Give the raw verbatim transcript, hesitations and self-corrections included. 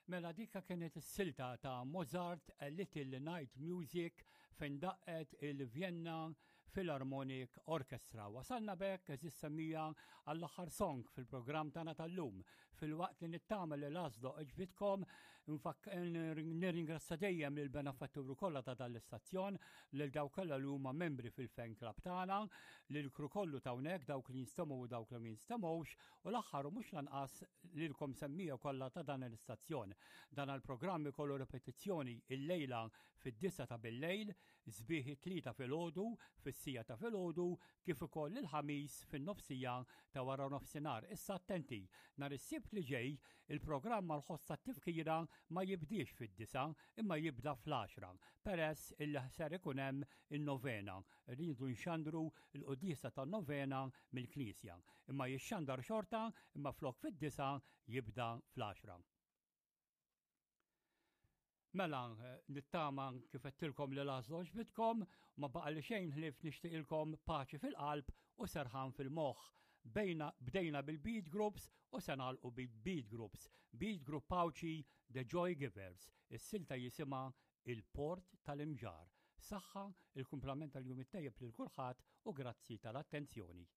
Mela dika kienet is-silta ta' Mozart A Little Night Music fejn daqqet il-Vienna Philharmonic Orchestra. Wasalna b'hekk, għeżież semmiegħa, għall-aħħar song fil-programm tagħna tal-lum. Filwaqt li nittama li l-għażla għoġbitkom, nirringrazzja dejjem lil benefatturi kollha ta' dan l-istazzjon, lil dawk kollha li huma membri fil-fan club tagħna, lil crew kollu ta' hawnhekk, dawk li jinstemgħu u dawk li ma jinstemgħux, u l-aħħar u mhux lanqas lilkom semmiegħa kollha ta' dan l-istazzjon. Dan il-programm ikollu repetizzjoni il-lejla fid-disgħa ta' bil-lejl, sbieħ it-Tlieta filgħodu, fis-siegħa ta' filgħodu, kif ukoll il-Ħamis fin-nofsija ta' wara nofsinhar. Issa attenti, nhar is-Sibt li ġej il-programm mal-ħoss tat-tifkira ma jibdiex fid-disgħa imma jibda fl-għaxra, peress illi ser ikun hemm in-novena. Rridu nxandru l-quddiesa tan-novena mill-Knisja. Imma jixxandar xorta, imma flok fid-disgħa jibda fl-għaxra. Mela, nittama kif għedtilkom li l-għażla għoġbitkom, ma baqa li xejn ħlief nixtieqilkom paċi fil-qalb u serħan fil-moħħ. Bejna, bdejna bil-beat groups u se nagħlqu bil-beat groups. Beat group Għawdxi The Joy Givers. Is-silta jisimha Il-Port tal-Imġarr. Saħħa, il-kumplament tal-jum it-tajjeb lil kulħadd u grazzi tal-attenzjoni.